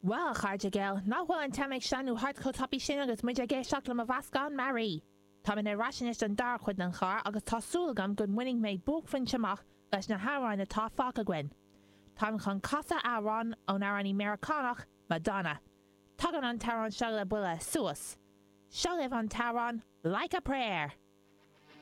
Bhuel, a chairde geal, nach bhfuil an t-am ag sleamhnú thart chomh tapaidh sin agus muid ag éisteacht le mo mheascán mearaí! Táimid ar ais anois don dara cuid den chlár agus tá súil agam go mbainfidh mé buaicphointe amach leis na hamhráin atá fágtha againn. Táim chun casadh amhrán ón amhránaí Meiriceánach, Madonna. Tagann an t-amhrán seo le buille suas. Seo libh an t-amhrán Like a Prayer!